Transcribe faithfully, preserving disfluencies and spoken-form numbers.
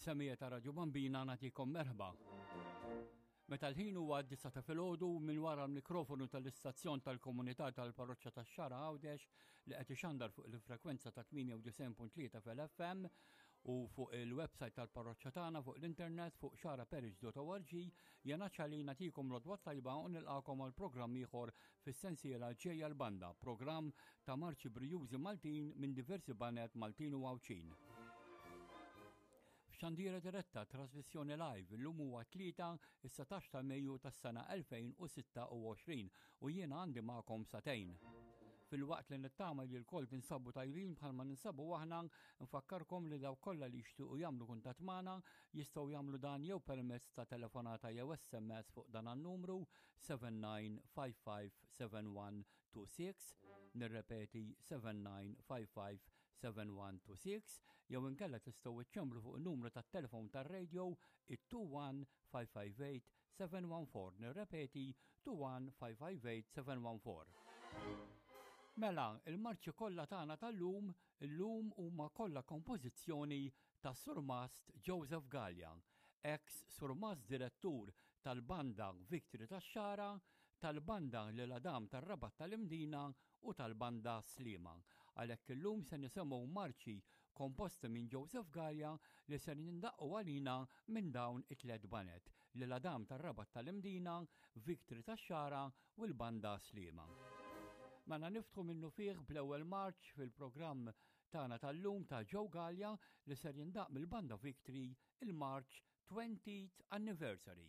Semmiegħa ta' Radio Bambina, nagħtikom merħba. Meta l-ħin huwa d-disgħa ta' filgħodu, minn wara l-mikrofonu tal-istazzjon tal-komunità tal-parroċċa tax-Xagħra Għawdex li qed ixandar fuq il-frekwenza ta' tmienja u disgħin punt tlieta fil-F M u fuq il-website tal-parroċċa tagħna fuq l-internet fuq xagħraparish punt org, jiena ċali nagħtikom l-għodwa tajba u nilqakom għal programm ieħor fis-sensiela Ġejja l-Banda, programm ta' marċi brijużi Maltin minn diversi baned Maltin u Għawdxin. F'xandira diretta, trasmissjoni live, illum huwa tlieta, is-satax ta' Mejju tas-sena elfejn u sitta u għoxrin u jiena għandi magħkom sagħtejn. Filwaqt li nittama li lkoll tinsabu tajbin bħalma ninsabu aħna, nfakkarkom li dawk kollha li jixtiequ jagħmlu kuntatt magħna jistgħu jagħmlu dan jew permezz ta' telefonata jew S M S fuq dan an-numru seba' tnejn ħamsa ħamsa seba' wieħed tnejn sitta, nirrepeti, seba' tnejn ħamsa ħamsa seba' wieħed tnejn sitta, jew inkella tistgħu iċċemplu fuq il-numru tat-telefon tar-radio it-tnejn wieħed ħamsa ħamsa tmien seba' wieħed erba', nirrepeti, tnejn wieħed ħamsa ħamsa tmien seba' wieħed erba'. Mela, il-marċi kollha tagħna tal-lum illum huma kollha kompożizzjoni ta' Surmast Joseph Gallia, ex Surmast Direttur tal-Banda Victory tax-Xagħra, tal-Banda L'Isle Adam tar-Rabat tal-Imdina u tal-Banda Sliema. Għalhekk illum se nisimgħu marċi komposti minn Joseph Gallia li se jindaqqu għalina minn dawn it-tliet baned: L'Isle Adam tar-Rabat tal-Imdina, Victory tax-Xagħra u l-Banda Sliema. Mela niftħu minnufih bl-ewwel marċ fil-programm tagħna tal-lum ta' Joe Gallia li ser jindaq mill-Banda Victory, il-March twentieth Anniversary.